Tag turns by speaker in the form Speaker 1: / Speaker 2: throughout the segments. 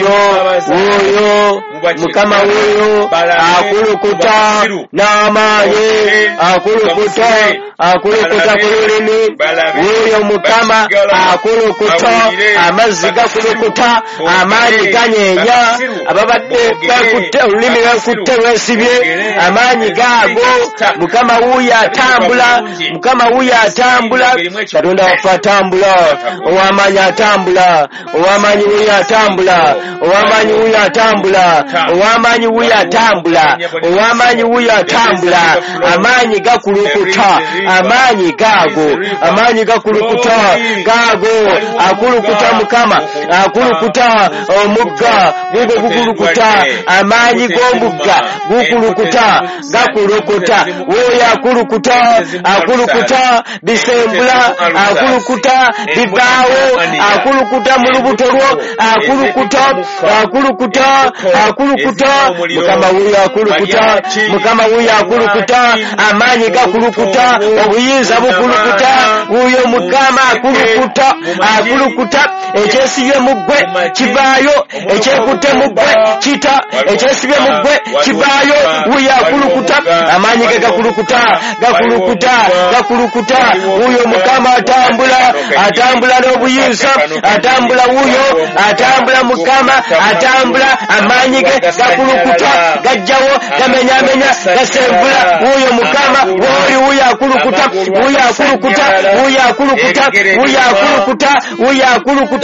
Speaker 1: Wuuyo Mukama, wuuyo akulukuta n'amaanyi, akulukuta, akulukuta ku lulimi. Wuuyo Mukama akulukuta, amazzi gakulukuta, amaanyi ganyeenya ababadde bakutte olulimi, lwekutte lwesibye amaanyi gaago. Mukama wuuyo atambula, Mukama wuuyo atambula, Katonda waffe atambula, ow'amaanyi atambula, ow'amaanyi wuuyo atambula, ow'amaanyi wuuyo atambula, ow'amaanyi wuuyo atambula, ow'amaanyi wuuyo atambula. Amaanyi gakulukuta, amaanyi gaago, amaanyi gakulukuta gaago, akulukuta Mukama, akulukuta omugga gugwo gukulukuta, amaanyi g'omugga gukulukuta, gakulukuta. Wuuyo akulukuta, akulukuta bisembula, akulukuta bivaawo, akulukuta mu lubuto lwo, akulukuta, akulukuta, akulukuta. Mukama wuuyo akulukuta, Mukama wuuyo akulukuta, amaanyi gakulukuta, obuyinza bukulukuta. Wuuyo Mukama akulukuta, akulukuta. Ekyesibye mu ggwe kivaayo, ekyekutte mu ggwe kita, ekyesibye mu ggwe kivaayo. Wuuyo akulukuta, amaanyi ge gakulukuta, gakulukuta, gakulukuta. Wuuyo Mukama atambula, atambula n'obuyinza, atambula wuuyo, atambula Mukama atambula, amaanyi ge gakulukuta, gajjawo, gamenyamenya, gasembula. Wuuyo Mukama wooli, wuuyo akulukuta, wuuyo akulukuta, wuuyo akulukuta, wuuyo akulukuta, wuuyo akulukuta.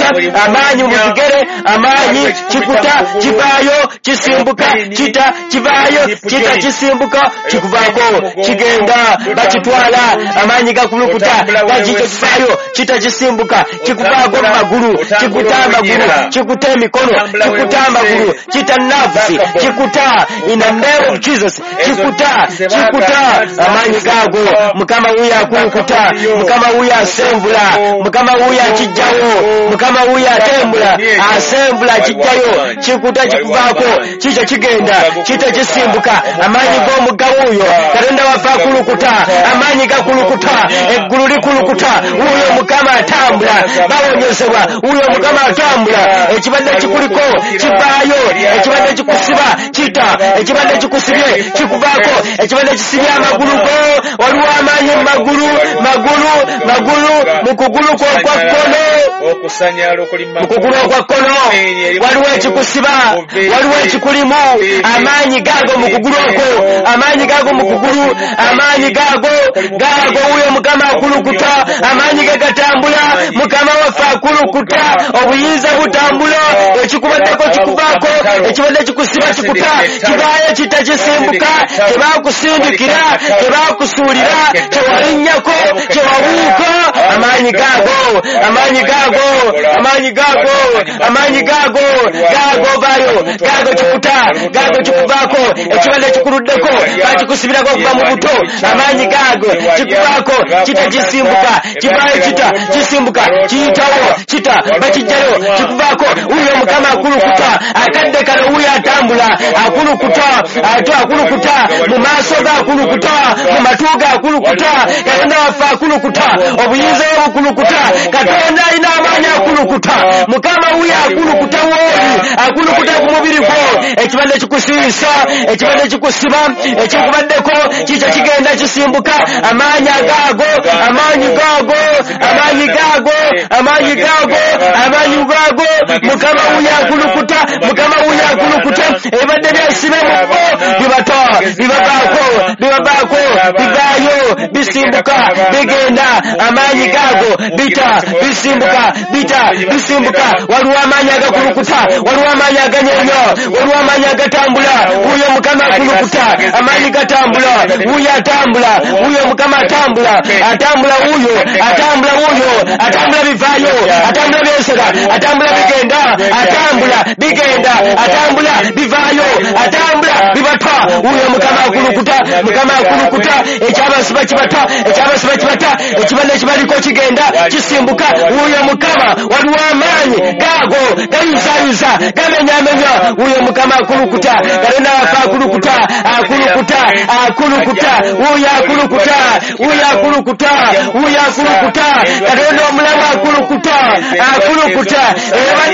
Speaker 1: Amaanyi mu bigere, amaanyi kikuta, kivaayo, kisimbuka, kita, kivaayo, kita, kisimbuka, kikuvaako, kigenda, bakitwala. Amaanyi gakulukuta, gakikyo, kivaayo, kita, kisimbuka, kikuvaako mu magulu, kikuta amagulu, kikuta emikono, kikuta amagulu, kita nerves, kikuta in the name of Jesus, kikuta, kikuta. Amaanyi gaago, Mukama wuuyo akulukuta, Mukama wuuyo asenvula, Mukama wuuyo akijjawo, Mukama wuuyo atembula, asembula, akijjayo, kikuta, kikuvaako, kikyo, kigenda, kita, kisimbuka. Amaanyi g'omugga, wuuyo Katonda waffe akulukuta, amaanyi gakulukuta, eggulu likulukuta. Wuuyo Mukama atambula, bawonyezebwa. Wuuyo Mukama atambula, ekibadde kikuliko kivaayo, ekibadde kikusiba kita, ekibadde kikusibye kikuvaako, ekibadde kisibye amagulu go. Waliwo amaanyi mu magulu, magulu, magulu, mu kugulu kwo okwa kkono, mu kugulu okwa kkono waliwo ekikusiba, waliwo ekikulimu. Amaanyi gaago mu kugulu okwo, amaanyi gaago mu kugulu, amaanyi gaago, gaago. Wuuyo Mukama akulukuta, amaanyi ge gatambula, Mukama waffe akulukuta, obuyinza butambula, ekikubaddeko kikuvaako, ekibadde kikusiba kikuta, kivaayo, kita, kisimbuka. Tebakusindikira, tebakusuulira, tewalinnyako, tewabuuka. Amaanyi gaago, amaanyi gaago, amaanyi gaago, amaanyi gaago, gaago vaayo, gaago kikuta, gaago kikuvaako. Ekibadde kikuluddeko, bakikusibirako okuva mu buto, amaanyi gaago kikuvaako, kita, kisimbuka, kivaayo, kita, kisimbuka, kiyitawo, kita, bakijjayo, kikuvaako. Wuuyo Mukama akulukuta, akadde kano wuuyo atambula, akulukuta, ate akulukuta mu maaso ge, akulukuta mu matu ge, akulukuta. Katonda waffe akulukuta, obuyinza bwe bukulukuta, Katonda alina amaanyi, akulukuta. Mukama wuuyo akulukuta, wooli akulukuta ku mubiri gwo. Ekibadde kikusiisa, ekibadde kikusiba, ekikubaddeko kikyo, kigenda, kisimbuka. Amaanyi agaago, amaanyi gaago, amaanyi gaago, amaanyi gaago, amaanyi gaago. Mukama wuuyo akulukuta, Mukama wuuyo akulukuta. Ebibadde byesibe mu bo bibata, bibavaako, bibavaako, bivaayo, bisimbuka, bigenda. Amaanyi gaago bita, bisimbuka, bita, bisimbuka. Waliwo amaanyi agakulukuta, waliwo amaanyi aganyenya, waliwo amaanyi agatambula. Wuuyo Mukama akulukuta, amaanyi gatambula, wuuyo atambula, wuuyo Mukama atambula, atambula wuuyo, atambula wuuyo, atambula bivaayo, atambula byesera, atambula bigenda, atambula bigenda, atambula bivaayo, atambula bibata. Wuuyo Mukama akulukuta, Mukama akulukuta. Ekyabasiba kibata, ekyabasiba kibata, ekibadde kibaliko kigenda, kisimbuka. Wuuyo Mukama, waliwo amaanyi gaago gayuzayuza, gamenyamenya. Wuuyo Mukama akulukuta, Katonda waffe akulukuta, akulukuta, akulukuta. Wuuyo akulukuta, wuuyo akulukuta, wuuyo akulukuta, Katonda omulamu akulukuta, akulukuta. Ebadde